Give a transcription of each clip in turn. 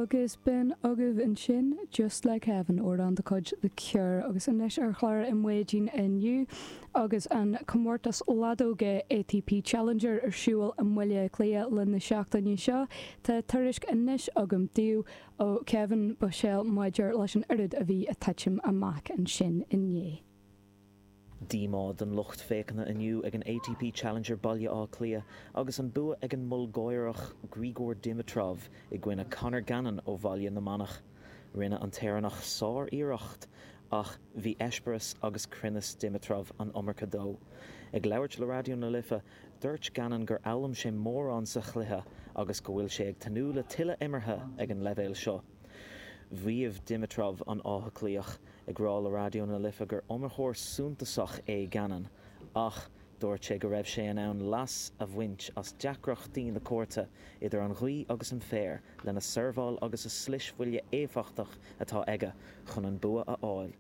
Agus b'in agaibh ansin Just Like Heaven, amhrán de chuid The Cure, agus anois ar chlár i maidin inniu agus an comórtas leadóige ATP Challenger ar siúl i mBaile Átha Cliath le na seachtaine seo, tá tuairisc anois agam daoibh ó Kevin Bushell maidir leis an oiread a bhí ag titim amach ansin inné. Díomá don lucht féachana inniu ag an ATP Challenger Baile Átha Cliath agus an bua ag an mBulgáireach Grigor Dimitrov i gcoinne Conor Gannon ó Bhaile na Manach. Rinne an tÉireannach sár-iarracht ach bhí eispéireas agus cruinneas Dimitrov an iomarca dó. Ag labhairt le Raidió na Life, dúirt Gannon gur fhoghlaim sé mórán sa chluiche agus go bhfuil sé ag tnúth le tuilleadh imeartha ag an leibhéal seo. Mhaígh Dimitrov an Áth Cliathach, ag rá le Raidió na Life gur iomaitheoir suntasach é Gannon, ach dúirt sé go raibh sé in ann leas a bhaint as deacrachtaí na cúirte, idir an ghaoth agus an féar, lena seirbheáil agus a slisbhuille éifeachtach atá aige chun an bua a fháil.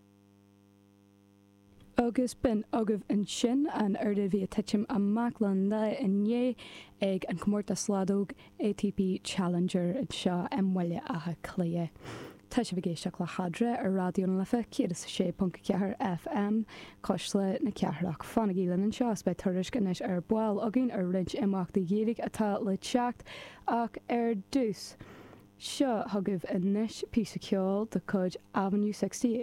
Agus b'in agaibh ansin an oiread a bhí ag titim amach le lá inné ag an comórtas leadóg ATP Challenger anseo i mBaile Átha Cliath. Tá sibh ag éisteacht le hEadra ar Raidió na Life 106.4 FM, Cuisle na Cathrach. Fanaigí linn anseo is beidh tuairisc anois ar ball againn ar roinnt imeachtaí Gaeilge atá le teacht ach ar dtús, seo chugaibh anois píosa ceoil de chuid Avenue 68.